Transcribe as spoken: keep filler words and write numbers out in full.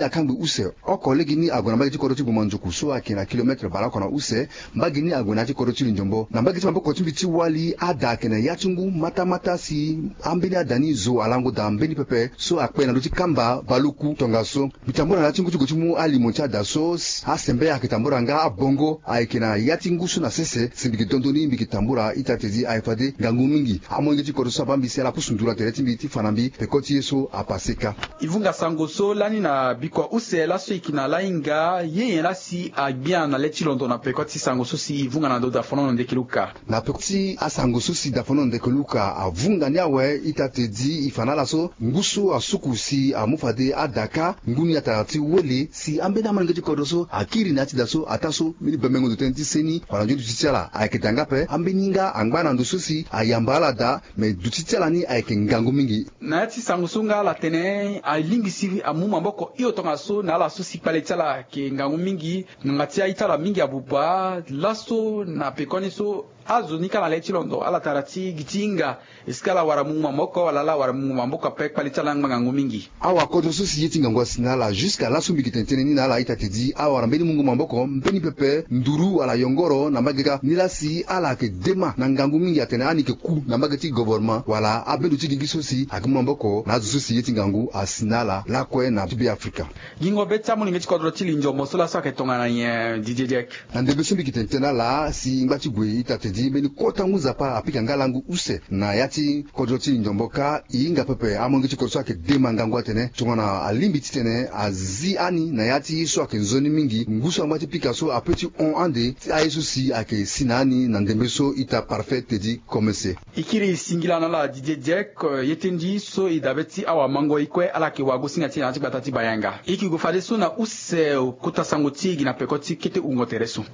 akangbi use oko lege ni ague na mbage ti kodro ti Boma Nzoku so ayeke na kilometre baleoko na use. Mbage ni ague na ya ti kodro ti Lindiombo na mbage ti maboko ti mbi ti wali ada ayeke na ya ti ngu matamata si ambeni ada ni zo alango daa mbeni pepe so akpe na ndö ti kamba baleoku tongaso. Mbi tambula na ya ti ngu ti gue ti mu alimo ti ada so, asembe ayeke tambula nga abongo ayeke na ya ti ngu so na sese si mbi yeke dondo ni mbi yeke tambula ita tedi ayeke fade ngangu mingi. Amolenge ti kodro so abaa mbi si ala pusu nduru na tere ti mbi ti fa na mbi peko ti ye so apase kâ. E vunga sango so lani na bikua use laso e yeke na lahinga ye nyen laa si agbia na le ti londo na peko ti sango so si e vunga na ndo dafonono ndeke luka. Na peko ti asango so si dafonono ndeke luka avunga ni awe ita tedi e fa na ala so ngu so asuku si amu fade ada kâ ngu ni atara ti wele si ambeni amolenge ti kodro so akiri na ya ti da so ataa so mbeni bemengo ndo tënë ti seni wala nzoni duti ti ala ayeke daa nga ape. Ambeni nga angba na ndo so si ayamba ala daa me duti ti ala ni ayeke ngangu mingi. Na ya ti sango so nga ala tene alingbi si amu maboko hio tongaso na ala so si kpale ti ala ayeke ngangu mingi. Ngbanga ti aye ti ala mingi abuba laso na pekoni so azo ni kâ na le ti londo ala tara ti gi ti hinga. Esika ala wara mungo maboko wala ala wara mungo maboko ape kpale ti ala angba ngangu mingi. Awakodro so si ye ti ngangu asi na ala jusque laso mbi yeke tene tënë ni na ala ita tedi awara mbeni mungo maboko mbeni pepe nduru wala yongoro na mbage kâ ni laa si ala yeke dema na ngangu mingi atene ani yeke ku na mbage ti govornement wala abendo ti gigi so si ayeke mu maboko na azo so si ye ti ngangu asi na ala lakue na ti beafrika. Gingo be ti amolenge ti kodro ti Lindiombo so laso ayeke tongana nyen Didier Diek? Na ndembe so mbi yeke tene tënë na ala si ngba ti gue ita tedi mbeni kota ngu nzapa apika nga langu use na ya ti kodro ti Lindiombo kâ e hinga pepe amolenge ti kodro so ayeke dema ngangu atene tongana alingbi titene azi ani na ya ti ye so ayeke nzoni mingi ngu so angba ti pika so ape ti hon ande ti aye so si ayeke si na ani na ndembe so ita Parfait Teddy Komese. E kiri singila na ala Didier Diek. Ye ti ndi so e dabe ti awamango e kue ala yeke wagosinga ti e na ya ti gbata ti Bayanga. E yeke gue fadeso na use kota sango ti e gi na peko ti kete wungo tere so.